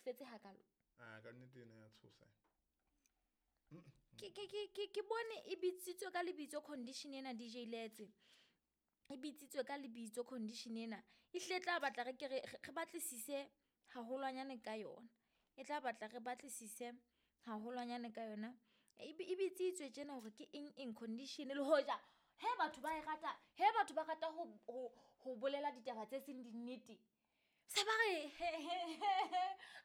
tsofetse hakalo. A ka nnete ena ya tshosa. Ke bone e bitsitswe ka lebitso condition ena, DJ Letse. E bitsitswe ka lebitso condition ena. E hlile tla batla re ke re batlisise haholwanyane ka yona. E tla batla re batlisise haholwanyane ka yona. E bitsitswe tjena hore ke eng eng condition, le hoja he batho ba e rata, he batho ba rata ho bolela ditaba tse seng dinnete. Se ba re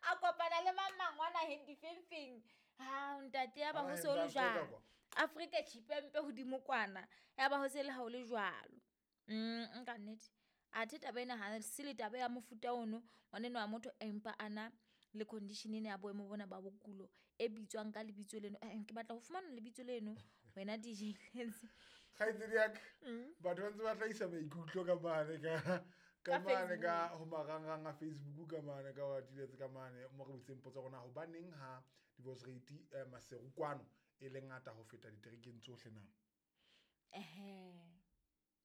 a kopana le mang mangwana he difengfeng. Ha ntate ya ba ho se ho le jwalo. Afrika Tshipembe hodimo kwana. Ya ba ho se le ha o le jwalo. Nka nnete. Athe taba ena ha se le taba ya mofuta ono, ngwaneno wa motho empa ana le condition ena ya boemo bona ba bokulo e bitswang ka lebitso leno. Ke batla ho fumana lebitso leno wena DJ Letse. Kgaitsedi ya ka, batho ba ntse ba hlahisa maikutlo ka mane ka mane ka ho marangrang a Facebook ka mane ka wa diletse ka mane mo re butseng potso rona hobaneng ha divorce rate Maseru kwano e le ngata ho feta diterekeng tsohle na?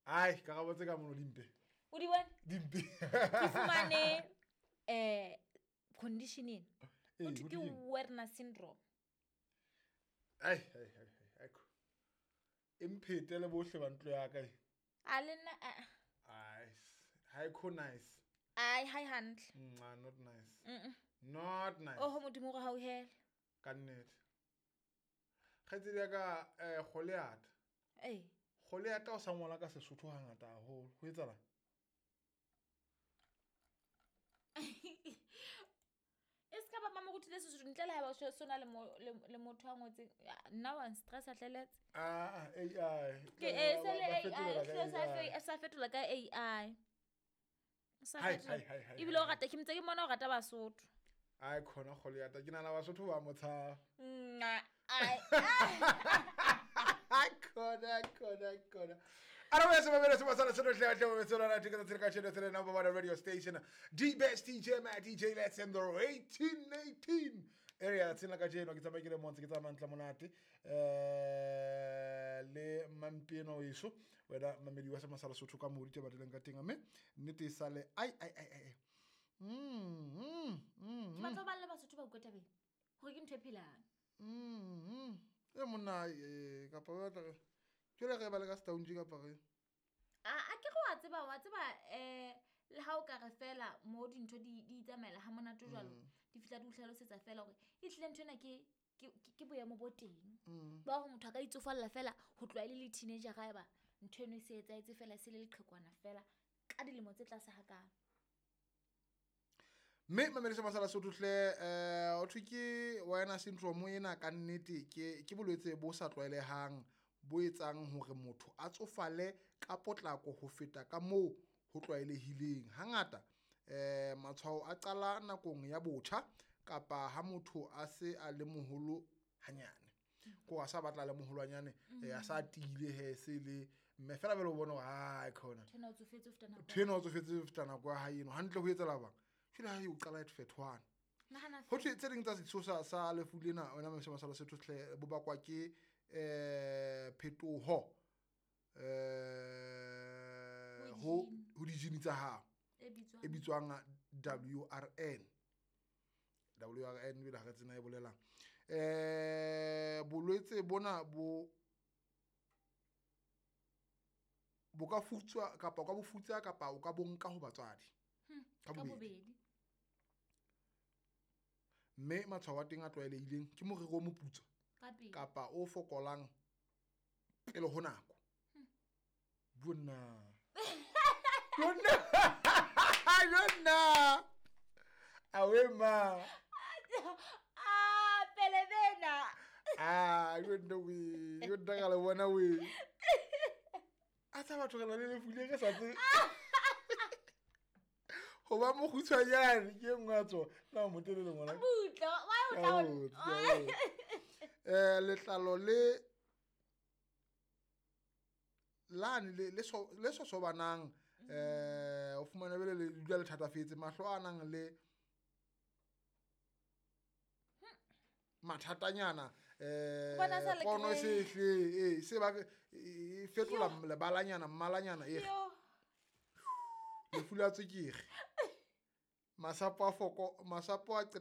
Ai, karabo tse ka mono dimpe. O di bone? Dimpe. Ke fumane condition ena. Ho thwe ke Werner syndrome. Ai ai ai ai. Emphete le bohle ba ntlo ya ka. A le nna ai. Hi ko nice. Ai hi hantle. Not nice. Not nice. Oh modimo re hauhele. Ka nnete. Kgaitsedi ya ka Goliath. Eh. Goliath o sa ngola ka Sesotho hangata haholo. Ho etsahala? E ska ba mamoruti le Sesotho ntle le ha ba sona le motho a ngotseng. Nna wa stress a tleletse. AI. Ke e se le AI sa fetola ka AI. Ebile o rata ke mtse ke mona o rata Basotho. Ai khona Goliath ke nana Basotho ba motsha. Ai. Khona. Ara se ba se ba sala se tle tle se lona tika tse ka tshelo tse number 1 radio station. The best DJ ma DJ Let's in the 1818 area tsena ka jeno ke tsamaya ke le montse ke tsamaya ntla monate le Mampieno iso wena mamedi wa Masala Sotho ka mo ditaba dileng ka teng mme nnete e sale ai ai ai ai. Ke batla ba le Basotho ba utlwa tabeng hore ke ntho e phelang. E monna kapa ba tla ke le re ba le ka Stounge kapa re a ke go wa tseba le ha o ka re fela mo dintho di tsamaela ha monate jwalo di fihla di utlhalosetsa fela hore e tlile ntho ena ke boemo bo teng ba hore motho a ka itsofalla fela ho tloha le teenager ga eba ntho eno e se etsaetse fela se le leqhekwana fela ka dilemo tse tlase hakalo. Mme mamedi sa Masala Sotho hle o thwe ke Werner syndrome ena ka nnete ke bolwetse bo sa tlwaelehang bo etsang hore motho a tsofale ka potlako ho feta ka moo ho tlwaelehileng. Hangata matshwao a qala nakong ya botjha kapa ha motho a se a le moholo hanyane. Ko a sa batla le moholwanyane a sa tiile he se le mme fela bele o bona hore ai khona. Thena o tsofetse ho feta nako. Thena o tsofetse ho feta nako ya hae eno hantle ho etsela bang. Jwale ha o qala at fethwana. Ho thwe tse ding tsa sesosa sa lefu lena wena Mamedi Masala Sotho hle bo bakwa ke phetoho ho dijini tsa hao e bitswang WRN. WRN bile ha re tsena e bolelang. Bolwetse bona bo ka futswa kapa o ka bo futsa kapa o ka bonka ho batswadi. Ka bobedi. Mme matshwao a teng a tlwaelehileng ke moriri o moputswa kapa o fokolang pele ho nako. Bonna. Bonna. Bonna. Awe ma. Pele bena. Yonna we. Yonna ka le bona we. A tsa batho re le lefule re sa tse. Ho ba mokgutshwanyane ke nngwe ya tsona. Na motelele ngwana. Butla, why o tla letlalo le lane le sosobanang o fumana bele le dula le thatafetse mahlo a nang le mathatanyana pono se hle se ba fetola lebalanyana mmalanyana e lefu la tswekere masapo a foko masapo a qete